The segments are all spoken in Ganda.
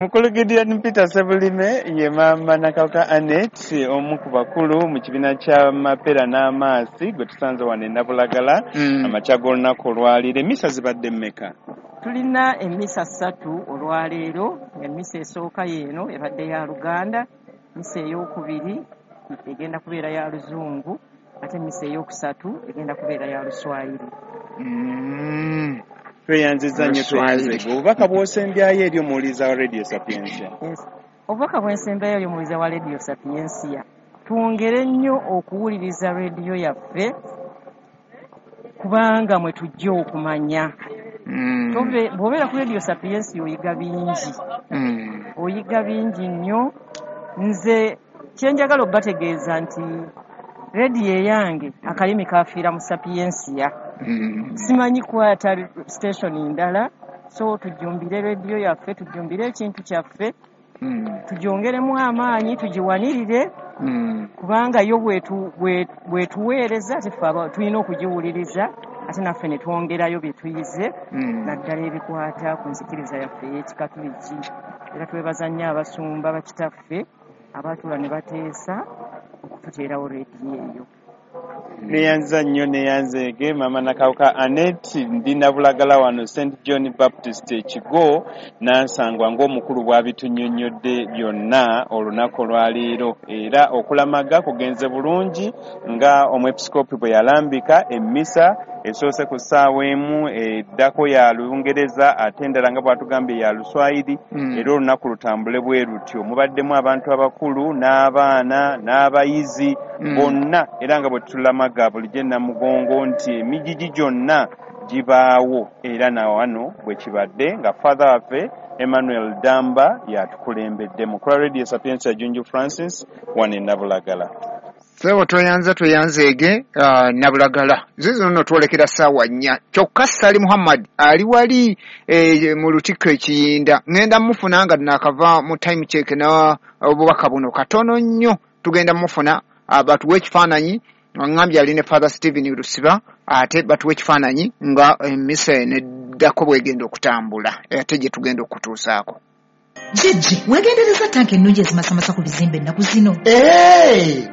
Mukulu Gideon Peter Sebulime ye maama Nakawuka Annet, omu ku bakulu mu kibiina kya Mapeera n'Amaasi, gwe tusanze wano e Nabulagala amakya g'olunaku olwaleero. Emmisa zibadde mmeka? Tulina emmisa 3 olwaleero. Emmisa esooka yeeno ebadde ya Luganda, mmisa eyookubiri egenda kubeera ya Luzungu, ate emmisa eyokusatu egenda kubeera ya Luswayiri. Tweyanziza nnyo, tweyanzege. Obubaka bw'osembyayo eri omuwuliriza wa Radio Sapientia? Obubaka bw'ensembyayo eri omuwuliriza wa Radio Sapientia, twongere nnyo okuwuliriza rediyo yaffe, kubanga mwe tujja okumanya. Bw'obeera ku Radio Sapientia oyiga bingi, oyiga bingi nnyo. Nze kyenjagala obbategeeza nti rediyo eyange akalimi kafiira mu Sapientia. Simanyi kwata station ndala, so tujjumbire rediyo yaffe, tujjumbire ekintu kyaffe, tugyongeremu amaanyi, tugiwanirire, kubanga yo bwetuweereza ate ffe tulina okugiwuliriza, ate naffe ne twongerayo bye tuyize, naddala ebikwata ku nzikiriza yaffe ey'Ekikatuliki. Era twebaza nnyo abasumba bakitaffe abatuula ne bateesa okututeerawo rediyo eyo. Neyanza nnyo, neyanzeege maama Nakawuka Annet. Ndi Nabulagala wano St John Baptist Ekigo, Nansangwa, ng'omukulu bw'abitunnyonnyodde byonna olunaku olwaleero. Era okulamaga kugenze bulungi nga omwepisikoopi bwe yalambika. Emmisa esoose ku ssaawa 1, eddako ya Lungereza, ate endala nga bw'atugambye ya Luswayiri. Era olunaku lutambule bwe lutyo, mubaddemu abantu abakulu n'abaana n'abayizi bonna, era nga bwe tulamaga bulijjo Namugongo nti emigigi gyonna gibaawo, era na wano bwe kibadde nga Father waffe Emmanuel Damba yatukulembedde. Mukulu wa Radio Sapientia, Junju Francis, wano e Nabulagala. Ssebo tweyanza, tweyanzeege. Nabulagala zizo nno twolekera ssaawa 4. Kyokka Sali Muhammad ali wali mu Lutikko Ekiyinda, ŋŋenda mufuna nga naakava mu time check na obubaka buno katono nnyo, tugenda mufuna batuwe ekifaananyi. Ŋŋambye ali ne Father Stephen Lusiba, ate batuwe ekifaananyi nga emmisa eno eddako bwegenda okutambula, ate gye tugenda okutuusaako. Jjajja, weegendereza tanka ennungi ezimasamasa ku bizimbe ennaku zino?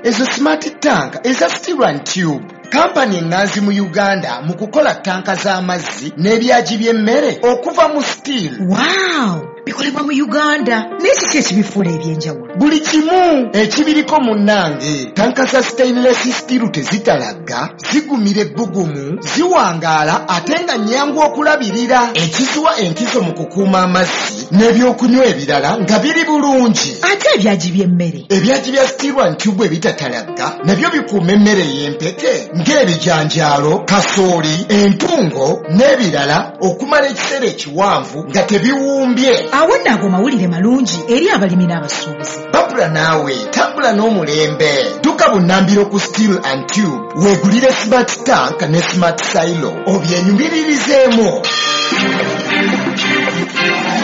Ezo smart tank eza Steel and Tube, kampani eŋŋanzi mu Uganda mu kukola tanka z'amazzi n'ebyagi by'emmere okuva mu steel. Wow, bikolebwa mu Uganda, naye kiki ekibifuula ebyenjawulo? Buli kimu ekibiriko munnange. Tanka za stainless steel tezitalagga, zigumira ebbugumu, ziwangaala, ate nga nnyangu okulabirira, ekiziwa enkizo mu kukuuma amazzi n'ebyokunywa ebirala nga biri bulungi. Ate ebyagi by'emmere? Ebyagi bya Steel and Tube ebitatalagga nabyo bikuuma emmere ey'empeke ng'ebijanjaalo, kasooli, entungo n'ebirala okumala ekiseera ekiwanvu nga tebiwumbye. Awo nno ago mawulire malungi eri abalimi n'abasuubuzi. Babula naawe tambula n'omulembe, dduka bunnambiro ku Steel and Tube weegulire smart tank ne smart silo obyenyumiririzeemu.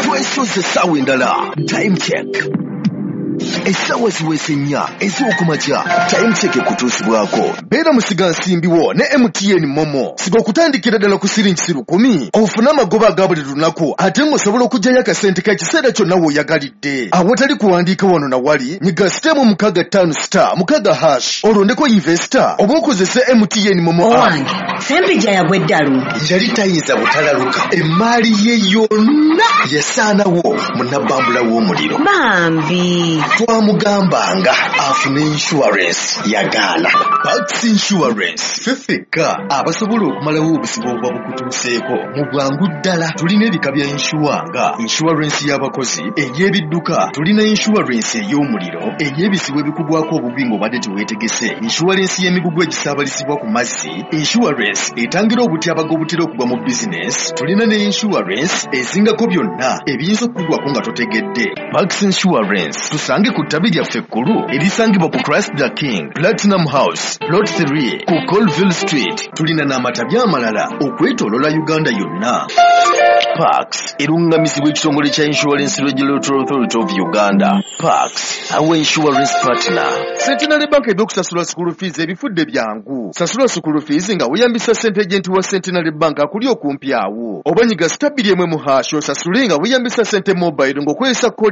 Twesoze essaawa endala, time check. Essaawa ziweze 4 ez'okumakya. Time check ekutuusibwako beera musigansimbiwo ne MTN MoMo. Siga okutandikira ddala ku siringi 10,000 ofune amagoba aga buli lunaku, ate ng'osobola okuggyayo akasente k'ekiseera kyonna w'oyagalidde awatali kuwandiika wano na wali. Nyiga *656*6# olondeko investor oba okozese MTN MoMo. Owange Sempijja yagwa eddalu. Yali tayinza butalaluka, emaali ye yonna yasaanawo mu nabbambula w'omuliro. Bambi. Twamugambanga afune insurance, yagaana. Pax Insurance, ffe ffekka abasobola okumalawo obuzibu obuba bukutuuseeko mu bwangu ddala. Tulina ebika bya insure nga insurance y'abakozi, ey'ebidduka, tulina insurance ey'omuliro, ey'ebizibu ebikugwako obubi ng'obadde teweetegese, insurance y'emigugu egisaabalizibwa ku mazzi, insurance etangira obutyabaga obutera okugwa mu bizinesi. Tulina ne insurance ezingako byonna ebiyinza okukugwako nga totegedde. Pax Insurance, tusange ku ku ttabi lyaffe ekkulu erisangibwa ku Christ the King Platinum House, Plot 3 ku Colville Street. Tulina n'amatabi amalala okwetooloola Uganda yonna. Pax erungamizibwa ekitongole kya Insurance Regulatory Authority of Uganda. Pax, our insurance partner. Centenary Bank ebyokusasula school fees ebifudde byangu. Sasula school fees nga weeyambisa ssente agent wa Centenary Bank akuli okumpi awo. Oba nyiga *2 mu hash osasule nga weeyambisa ssente mobile ng'okozesa kkoodi.